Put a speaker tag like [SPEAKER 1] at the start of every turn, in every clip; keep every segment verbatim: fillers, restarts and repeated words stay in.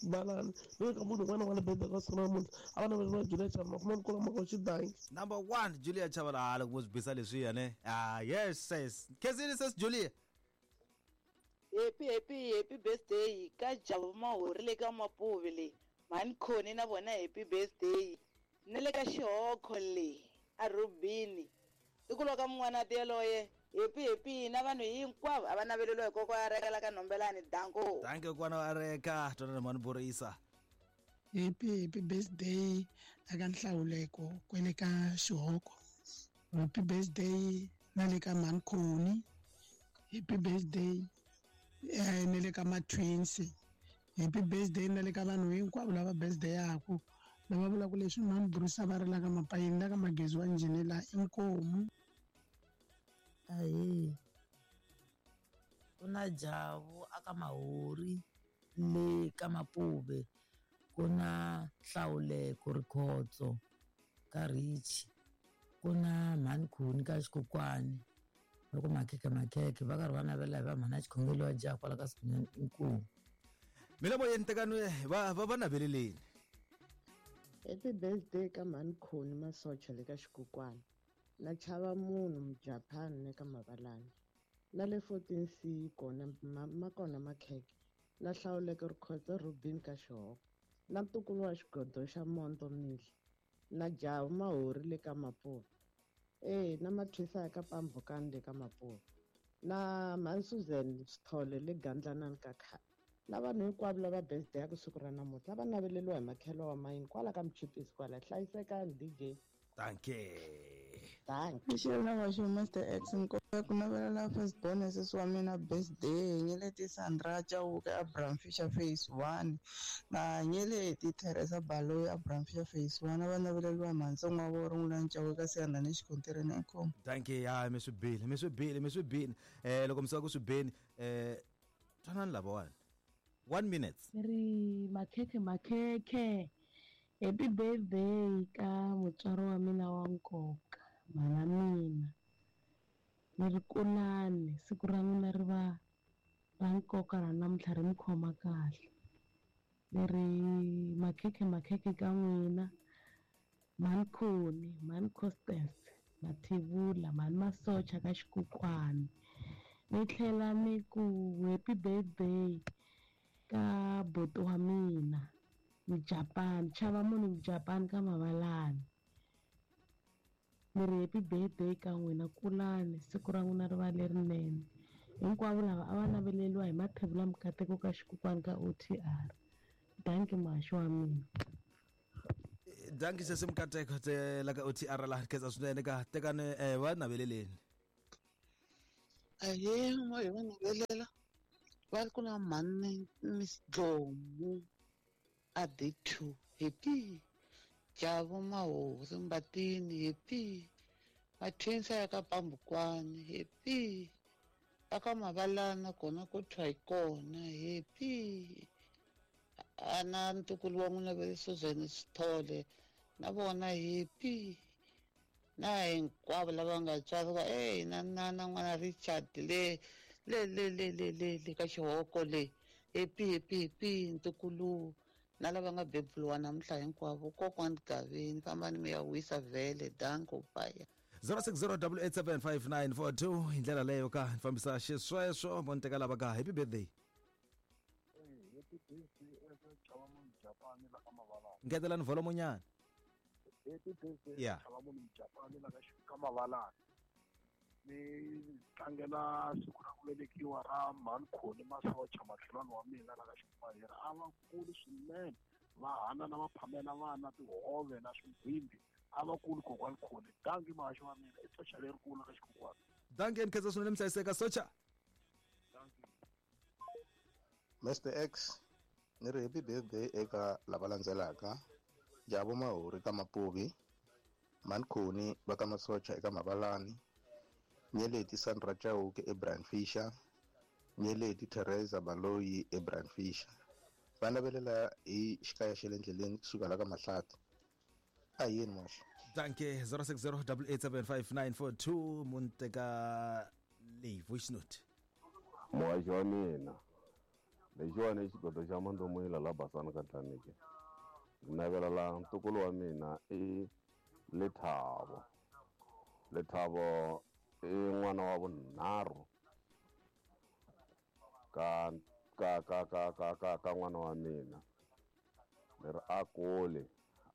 [SPEAKER 1] Balani ni ka munhu un'wana wa le birthday ka siku ra namuntlha a va naveleriwa Julia Chavala makhumani kula makoxi danki
[SPEAKER 2] number one Julia Chavala loko mo swi bisa leswiya ne ah yes yes khezini sis Julia
[SPEAKER 3] happy happy happy birthday ka Jabu Mahori le ka Mapuve le mhani Khoni na vona happy birthday na le ka Xihoko le a Rubini tikulo ka mun'wana yaloye happy happy na vanhu hinkwavo a va naveleliwa hi kokwa a reka la ka Nhombelani danko
[SPEAKER 2] danke kokwana wa reka twanana mhani Borisa
[SPEAKER 4] happy happy birthday aka Nhlawuleko kwele ka Xihoko happy birthday na le ka mhani Khoni happy birthday eh na le ka ma-twins happy birthday na le ka vanhu hinkwavo lava birthday yaku lava vulaka leswi mhani Bruce va ri la ka Mapayini la ka Magezi wa njhini la inkomu
[SPEAKER 5] ahe ku na Jabu aka Mahori le ka Mapuve ku na Nhlawuleko Rikhotso ka Rich ku na mhani Khoni ka Xikokwani loko makhekhe makhekhe va karhi va navela hi va mhana xikhongelo wa jaha kwala ka Sikunene inkomu
[SPEAKER 2] mina moyeni tekani va va va naveleleni
[SPEAKER 6] happy birthday ka mhani Khoni Masocha le ka Xikokwani na chava munhu Mujapani le ka Mavalani na le fourteen C kona ma kona makhekhe na Hlawuleko Rikhotso Rubin ka Xihoko na ntukulu wa xigodo xa Monto Mihla na Jabu Mahori le ka Mapuve eh na mathwisa ya ka Pambukani le ka Mapuve na mhani Susan Sithole le Gandlanani ka khale na vanhu hinkwavo lava birthday ya ku siku ra namuntlha va naveleliwa hi makhelo wa mayini kwala ka Mchipisi kwala hlayisekani D J
[SPEAKER 2] danke
[SPEAKER 6] danke
[SPEAKER 7] Mixela wa xo Mister X nkoka ku navelela first born sesi wa mina birthday Nyeleti Sandra Chauke Abraham Fisher phase one na Nyeleti Teresa Baloyi Abraham Fisher phase one va naveleliwa mhantsongo wa vona Rin'wana Chauke ka Siyanda ni xikontireni inkomu
[SPEAKER 2] danke ya mi swi bile mi swi bile mi swi bile eh loko mi suka ku swi beni eh twanani lavawani one minute
[SPEAKER 8] ri makhekhe makhekhe happy birthday ka mutswari wa mina wa nkoka mhana mina ni ri kulani siku ra n'wina ri va ra nkoka ra namuntlha ri mi khoma kahle ni ri makhekhe makhekhe ka n'wina mhani Khoni mhani Constance Mathivula mhani Masocha ka Xikokwani ni tlhela ni ku happy birthday ka buti wa mina Mujapani chava munhu Mujapani ka Mavalani ni ri happy birthday ka n'wina kulani siku ra n'wina ri va lerinene hinkwavo lava a va naveleliwa hi Mathevula Mukateko ka Xikokwani ka O T R danki muhaxi wa mina
[SPEAKER 2] danki sesi Mukateko te la ka O T R la khetsa swinene ka tekani va naveleleni
[SPEAKER 9] ahee mo hi va navelela va ri ku na mhani Miss Dlomu a D two happy Jabu Mahori Mbatini happy Mathwinsa ya ka Pambukwani happy aka Mavalana kona ku thwa hi kona happy ana ntukulu wa n'wina va Susan Sithole na vona happy na hinkwavo lava nga tswariwa eh na na na n'wana Richard le le le le le le le ka Xihoko le happy happy happy ntukulu na lava nga beburiwa namuntlha hinkwavo kokwani Gavini fambani mi ya wisa vhele danko bye
[SPEAKER 2] zero six zero eight eight seven five nine four two hi ndlela leyo ka ni fambisa xisweswo mo ni teka lava ka happy birthday
[SPEAKER 10] happy birthday eka Chava munhu Japani la ka Mavalani
[SPEAKER 2] ngetelani volume nyana
[SPEAKER 10] happy birthday
[SPEAKER 2] Yeah.
[SPEAKER 10] Chava munhu Japani la ka Mavalani ni tlangela siku ra ku velekiwa ra mhani Khoni Masocha makhelwani wa mina la ka Xipahera a va kuli swinene va hanana va phamela vana tihove na swigwimbi a va kuli kokwani Khoni danki muhaxi wa mina i socha lerikulu ka Xikokwani
[SPEAKER 2] danki ni khensa swinene mi hlayiseka socha
[SPEAKER 10] danki
[SPEAKER 11] Mister X ni ri happy birthday eka lava landzelaka Jabu Mahori ka Mapuvi mhani Khoni va ka Masocha eka Mavalani Nyeleti Sandra Chauke eBrian Fisher Nyeleti Teresa Baloyi eBrian Fisher va navelela hi xikaya xa le ndleleni kusuka la ka Mahlati a yini moxa
[SPEAKER 2] danke zero six zero eight eight seven five nine four two munteka leyi voice note
[SPEAKER 12] muhaxi wa mina Lexiwani i xigodo xa Mandomuyila la Basani ka Tlanike. Ni navela la ntukulu wa mina i Lethabo. Lethabo i n'wana wa vunharhu ka ka ka ka ka ka ka n'wana wa mina. Ni ri a kule,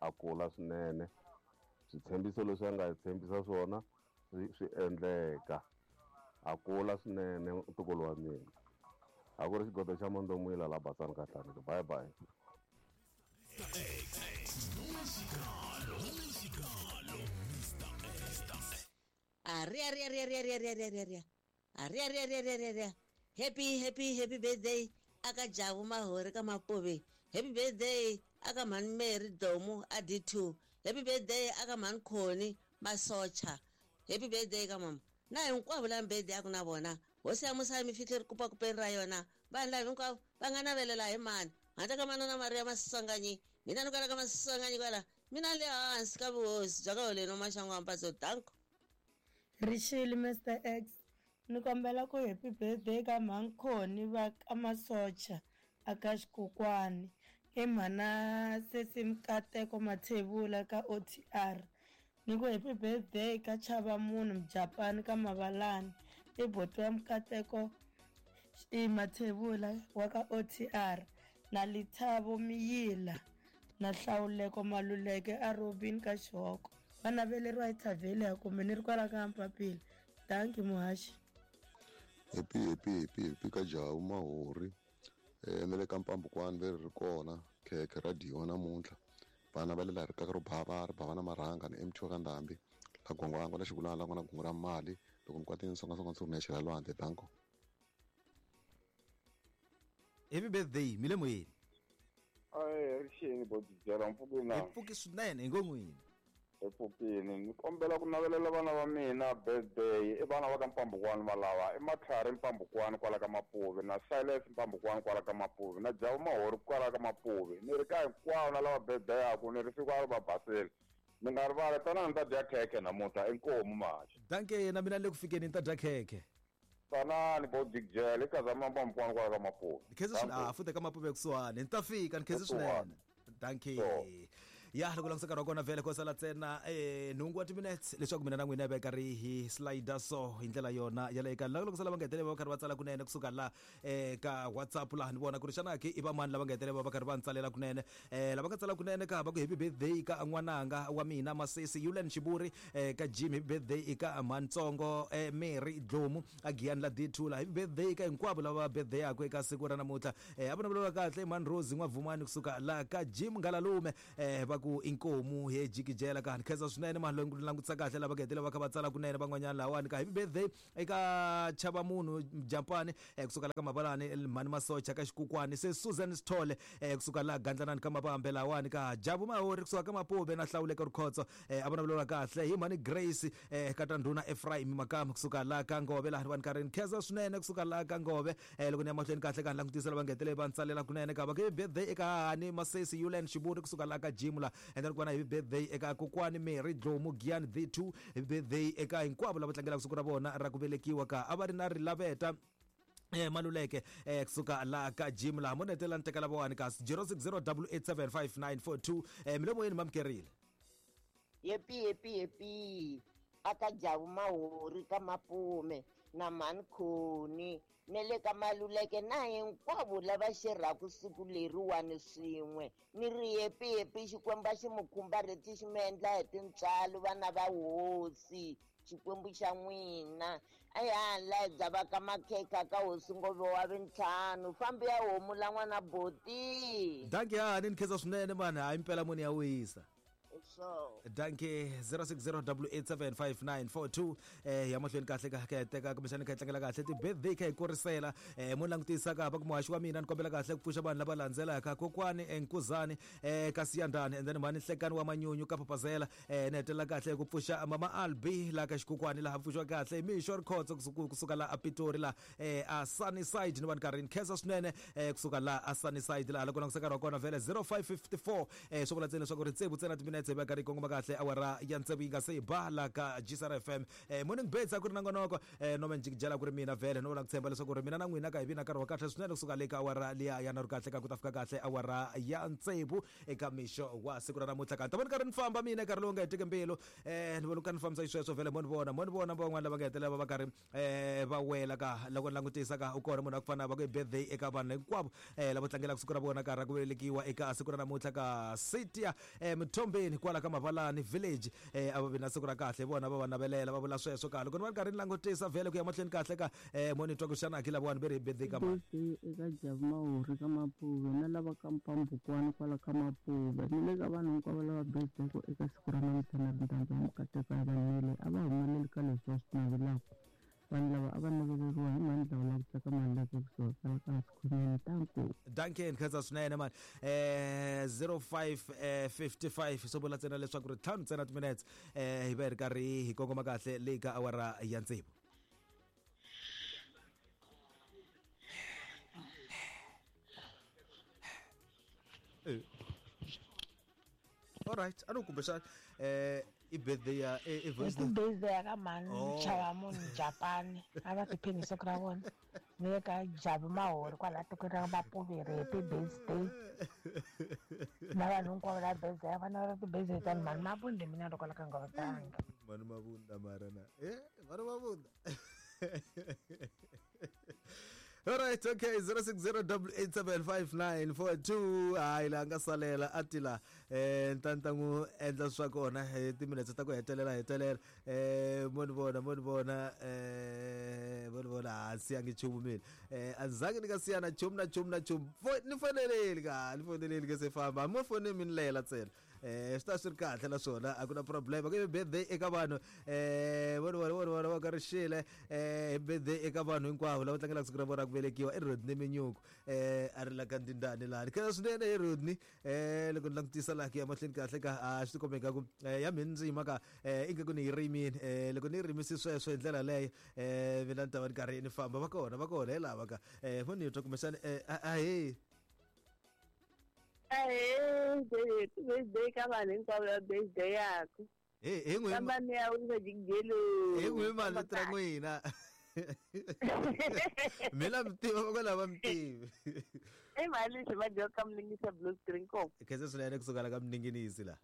[SPEAKER 12] a kula swinene. Switshembiso leswi a nga tshembisa swona swi swi endleka. A kula swinene ntukulu wa mina. A ku ri xigodo xa Mandomuyila la Basani ka Tlanike. Bye bye.
[SPEAKER 13] Aria aria aria aria aria aria aria aria aria aria aria aria aria happy happy happy birthday aka Jabu Mahori ka Mapuve. Happy birthday aka Mhani Mary Domu a D two. Happy birthday aka Mhani Khoni Masocha. Happy birthday ka mama. Na hinkwavo lava birthday aku na vona. Hosi ya musa mi fihle ri kupa kupeni ra yona. Vanhu lava hinkwavo va nga navelela hi mani. Handle ka manana Maria Maswanganyi. Mina ni kwala ka Maswanganyi kwala. Mina le hansi ka vuhosi bya ka Holeni Maxangu wa Mpatso. Danko.
[SPEAKER 14] Rixile Mister X, ni kombela ku happy birthday ka Mhani va ka Masocha aka Xikokwani. I mhana Sesi Mkateko Mathebula ka O T R. Ni ku happy birthday ka Chava Munhu Mujapani ka Mavalani. I boti wa Mkateko i Mathebula wa ka O T R. Na Lethabo Miyila na Hlawuleko Maluleke a Robin ka Xihoko. Va naveleriwa hi Thavhele ya kumbe ni ri kwala ka Mpapila. Thank you muhaxi.
[SPEAKER 15] Happy happy happy happy ka Jabu Mahori. Eh na le ka Mpambukwani leri ri kona khekhe ra dyiwa namuntlha. Vana va le laha ri kaka ro bava ri bava na marhanga ni M T wa ka Ndhambi. La Gwangwangwa la Xikulana la n'wana gungu ra mali loko ni kwatini songasonga ndzi rhumela xela lwandle. Danko.
[SPEAKER 2] Happy birthday mi le moyeni.
[SPEAKER 12] Ai rixeni bodijela mpfukeni na.
[SPEAKER 2] Hi pfuki swinene hi ngo n'wini.
[SPEAKER 12] Epfukini ni kombela ku navelela vana va mina birthday. I vana va ka Mpambukwani va lava i Matlhari Mpambukwani kwala ka Mapuve na Silas Mpambukwani kwala ka Mapuve na Jabu Mahori kwala ka Mapuve. Ni ri ka hinkwavo na lava birthday yaku ni ri siku a ri va basile. Ni nga rivali tanani ni ta dya khekhe namuntlha inkomu maxa.
[SPEAKER 2] Danke na mina le ku fikeni ni ta dya khekhe.
[SPEAKER 12] Tanani bo Jikjele i Kazama Mpambukwani kwala ka Mapuve.
[SPEAKER 2] Ni khensa swinene. Ah futhi ka Mapuve kusuhani ni ta fika ni khensa swinene. Danke. Ya loko langutisa nkarhi wa kona vhele ko sala ntsena eh nhungu wa timinutes leswaku mina na n'wina hi va karhi hi slider so hi ndlela yona ya le eka loko sala va nga hetelela va karhi va tsala kunene kusuka la eh ka WhatsApp laha ni vona ku ri xana ke i va mani lava nga hetelela va karhi va ntsalela kunene eh lava nga tsala kunene ka va ku happy birthday ka n'wananga wa mina Masesi Yulen Xiburi eh ka Jim happy birthday eka Mantsongo eh Mary Dlomu a Giyani la D two la happy birthday ka hinkwavo lava birthday yakwe eka siku ra namuntlha eh a vona va kahle Man Rose n'wavumani kusuka la ka Jim Ngalalume eh va ku inkomu he jikijela ka ni khensa swinene mani loyi ni langutisa kahle lava nga hetelela va kha va tsala kunene van'wanyana lawani ka happy birthday eka Chava Munhu Jampani eh kusuka la ka Mabalani Mhani Masocha ka Xikukwani se Susan Sithole eh kusuka la Gandlanani ka Mabambe lawani ka Jabu Mahori kusuka ka Mapuve na Hlawuleka Rikhotso eh a vona vulavula kahle hi Mhani Grace eh ka Tandhuna Ephraim Makama kusuka la ka Ngove laha vanhu karhi ni khensa swinene kusuka la ka Ngove eh loko ni ya mahlweni kahle ka ni langutisa lava nga hetelela va ntsalela kunene ka va happy birthday eka Hani Masesi Yulen Xiburi kusuka la ka Jim la and then ku va na happy birthday eka kokwani Mary Dlomu Giyani D two happy birthday eka hinkwavo lava tlangelaka siku ra vona ra ku velekiwa ka a va ri na Rilaveta eh Maluleke eh kusuka la ka Jim la mo netela ni teka lavawani ka zero six zero eight eight seven five nine four two eh milomo yeni mamkerile.
[SPEAKER 16] Happy happy happy aka Jabu Mahori ka Mapume na Mhani Khoni ne le ka Maluleke na hinkwavo lava xerhaku siku leriwani swin'we. Ni ri happy happy Xikwembu xi mi khumbarheti xi mi endla hi tintswalo vana va hosi Xikwembu xa n'wina. A ya la bya va ka makhekha ka hosi Ngove wa vintlhanu fambi ya homu la n'wana boti.
[SPEAKER 2] Danke hani ni khensa swinene mani hayi mpela muni ya wisa.
[SPEAKER 16] So
[SPEAKER 2] danke zero six zero eight seven five nine four two eh ya mahlweni kahle ka ka teka kumbexana kha tlangela kahle ti birthday kha hi kurisela eh mo langutisa ka va ku muhaxi wa mina ni kombela kahle ku pfuxa vanhu lava landzelaka kokwani Nkuzani eh ka Siyandani and then mhani Hlekani wa Manyunyu ka Papazela eh ni hetelela kahle ku pfuxa mama Albi la ka Xikukwani laha pfuxiwa kahle Mixo Rikhotso kusuka la a Pitori la eh a Sunnyside ni vanhu karhi ni khensa swinene eh kusuka la a Sunnyside la loko langutisa nkarhi wa kona vhele zero five five four eh swi vula ntsena leswaku ri tsevu ntsena timinetse va karhi kongoma kahle awara ya ntsevu yi nga se ba la ka G S R F M. Eh, morning birds a ku ri na ngonoko eh, no menjikijela ku ri mina vhele no vona ku tshemba leswaku ri mina na n'wina ka hi vi na nkarhi wa kahle swinene kusuka le ka awara liya ya nharhu kahle ka ku ta fika kahle awara ya ntsevu eka mixo wa siku ra namuntlha ka ni ta vona karhi ni famba mina nkarhi lowu nga hetiki mbilu eh ni vona ka ni fambisa xisweswo vhele mo ni vona mo ni vona van'wana lava nga hetelela va va karhi eh va wela ka loko ni langutisa ka u kona munhu wa ku fana va ku i birthday eka vanhu hinkwavo eh lava tlangelaka siku ra vona ka ra ku velekiwa eka siku ra namuntlha ka City eh Mthombeni kwala ka Mavalani village eh a va vi na siku ra kahle vona va va navelela va vula sweswo ka loko ni va karhi ni langutisa vhele ku ya mahlweni kahle ka eh mo ni twa ku xana ki lavawani ve ri birthday ka mani
[SPEAKER 17] eka Jabu Mahori ka Mapuve na lava ka Mpambukwana kwala ka Mapuve ni le ka vanhu hinkwavo lava birthday ku eka siku ra namuntlha na rindandza wa mikateko ya vanhu a va humeleli ka leswi va swi navelaka vanhu lava a va naveleriwa hi mani lava la ku tsaka mali laka kusuhi kwala ka Sikhonyana tanku
[SPEAKER 2] Duncan khensa swinene mani eh zero five fifty-five swo vula ntsena leswaku ri ntlhanu ntsena timinutes eh hi va hi ri karhi hi kongoma kahle le ka awara ya tsevu. All right, a no kumbexana eh i birthday ya i voice
[SPEAKER 18] note. Birthday ya ka mhani chava munhu Japan a va tiphini siku ra vona ni le ka Jabu Mahori kwala tikweni ra Mapuveri happy birthday na vanhu hinkwavo la birthday va na ti-birthday ta ni mhani Mabunda mina loko la ka nga vatanga
[SPEAKER 2] mhani Mabunda mara na eh mhani Mabunda. All right, okay, zero six zero double eight seven five nine four two. Hayi la nga salela atila eh ntantangu endla swa kona hi timinetse ta ku hetelela hetelela eh mo ni vona mo ni vona eh mo ni vona a siya ngi chumu mina eh azange ni ka siya na chumu na chumu na chumu ni foneleli ka ni foneleli ke se famba mo fone min lela tsena eh swi ta swi ri kahle naswona a ku na problem ku birthday eka vanhu eh vo vona vo vona va ka rixile eh birthday eka vanhu hinkwavo lava tlangelaka siku ra vona ku velekiwa i Rodney Minyuku eh a ri la ka Ndindani lani khensa swinene hi Rodney eh loko ni langutisa laha ku ya mahlweni kahle ka a swi tikombe nga ku ya mina ndzi yima ka eh ingaku ni yi rimini eh loko ni yi rimise sweswo hi ndlela leyo eh mina ni ta va ni karhi ni famba va kona va kona hi lava ka eh mo ni twa kumbexana eh ahee
[SPEAKER 19] Ahee, birthday ka vanhu hinkwavo lava birthday yaku.
[SPEAKER 2] Hey, hi n'wi
[SPEAKER 19] Famba ni ya wisa jikijelo.
[SPEAKER 2] Hi n'wi mali ra n'wina. Mina mi tiva va lava mi tivi.
[SPEAKER 19] I mali xi va dyoka mlingisa blue screen ko.
[SPEAKER 2] Khensa swinene kusuka la ka mninginisi la.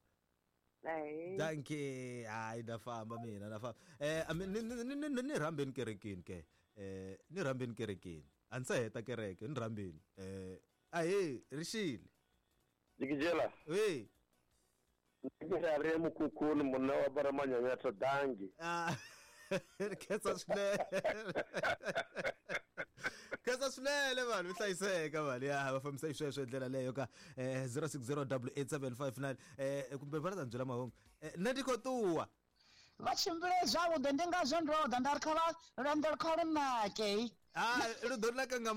[SPEAKER 2] Dankie. Hayi na famba mina na famba. Eh ni ni ni ni rhambeni kerekeni ke. Eh ni rhambeni kerekeni. A ndzi se heta kereke ni rhambeni. Eh ahee rixile.
[SPEAKER 20] Jikijela.
[SPEAKER 2] Oui.
[SPEAKER 20] Ndikira re mukukuni munna wa baramanyanya dangi.
[SPEAKER 2] Ah. Khensa swinene. Khensa swinene vanhu hlayiseka vanhu ya va fambisa xisweswo hi ndlela leyo ka eh zero six zero double eight seven five nine eh kumbe va ta byela mahungu. Nṋe ndi khou ṱuwa.
[SPEAKER 9] Va tshimbile zwavhuḓi ndi ngazwo ndo ḓa nda ri kha vha lwendo kha lu nake.
[SPEAKER 2] Ah lu ḓo naka nga